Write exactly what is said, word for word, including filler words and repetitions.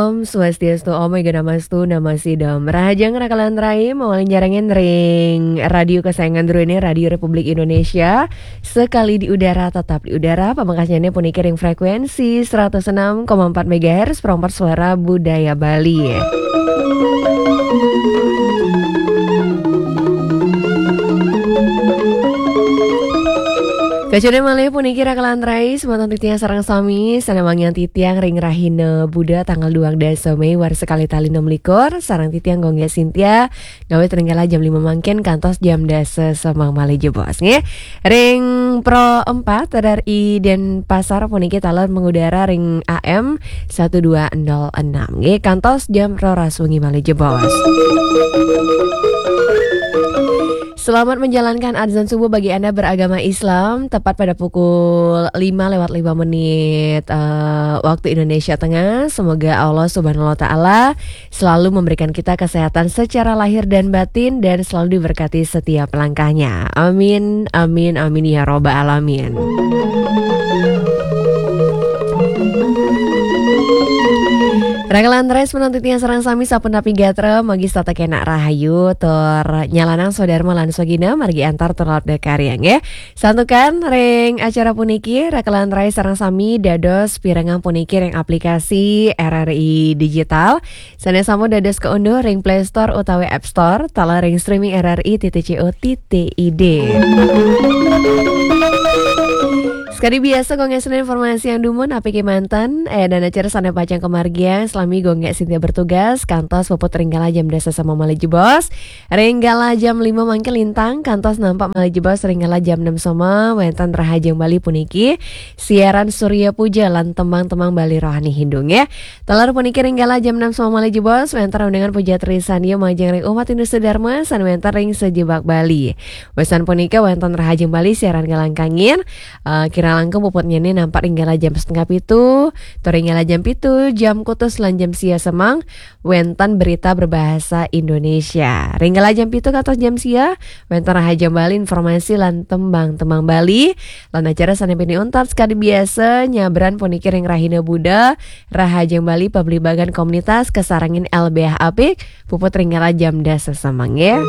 Om Swastiastu, Om Ega Namastu, Namo Sidham. Rahajeng rakalan rai, mawali nyarengin ring radio kesayangan Dru ini, Radio Republik Indonesia. Sekali di udara, tetap di udara, pamekasnyané puniki ring frekuensi seratus enam koma empat megahertz, perempat suara budaya Bali. Kacundra malih puniki rakalan rai, semeton titiang sareng sami, sané wangiang titiang ring rahina Buda tanggal dua dasa Mei warsa kalih tali enam likur, sareng titiang Gung Gék Sintia, ngawit ring kala jam lima mangkin kantos jam dasa semeng malih jebos, nggih. Ring Pro empat R R I Denpasar puniki taler mengudara ring A M satu dua nol enam, nggih, kantos jam roras wengi malih jebos. Selamat menjalankan azan subuh bagi Anda beragama Islam, tepat pada pukul lima lewat lima menit, eh, waktu Indonesia Tengah. Semoga Allah Subhanahu wa Ta'ala selalu memberikan kita kesehatan secara lahir dan batin dan selalu diberkati setiap langkahnya. Amin, amin, amin ya robbal alamin. Rakalan rai, semeton titiang sareng sami sapunapi gatra, mugi setata kenak rahayu, tur nyalanang swadarma lan swagina, margi antar tur labda karya, nggih. Santukan ring acara puniki, rakalan rai sareng sami dados pirengang puniki ring aplikasi R R I Digital, sané sampun dados kaunduh ring Play Store utawi App Store, taler ring streaming R R I titik C O titik I D. Sekadi biasa, Gung Gék Sintia informasi yang dumun, apiki manten, eh, dan acara sané pacang kamargiang, salami Gung Gék Sintia bertugas, kantos puput ring kala jam dasa semeng malih jebos, ring kala jam lima mangkin lintang, kantos nampak malih jebos, ring kala jam enam semeng, wénten Rahajeng Bali puniki, siaran Surya Puja lan tembang-tembang Bali rohani Hindu, nggih. Taler puniki ring kala jam enam semeng malih jebos, wénten undangan puja trisandya majeng ring umat Hindu sedharma, sané wénten ring sajebag Bali. Wusan punika wénten Rahajeng Bali siaran kalangkangin, eh, kirang langkung puputnyané nampak ring kala jam setengah pitu, tur ring kala jam pitu, jam kutus lan jam sia semeng, wénten berita berbahasa Indonesia. Ring kala jam pitu kantos jam sia, wénten Rahajeng Bali informasi lan tembang-tembang Bali, lan acara sané pinih untat sekadi biasa nyabran puniki ring rahina Buda, Rahajeng Bali pabligbagan komunitas kasarengin L B H apik, puput ring kala jam dasa semeng, nggih.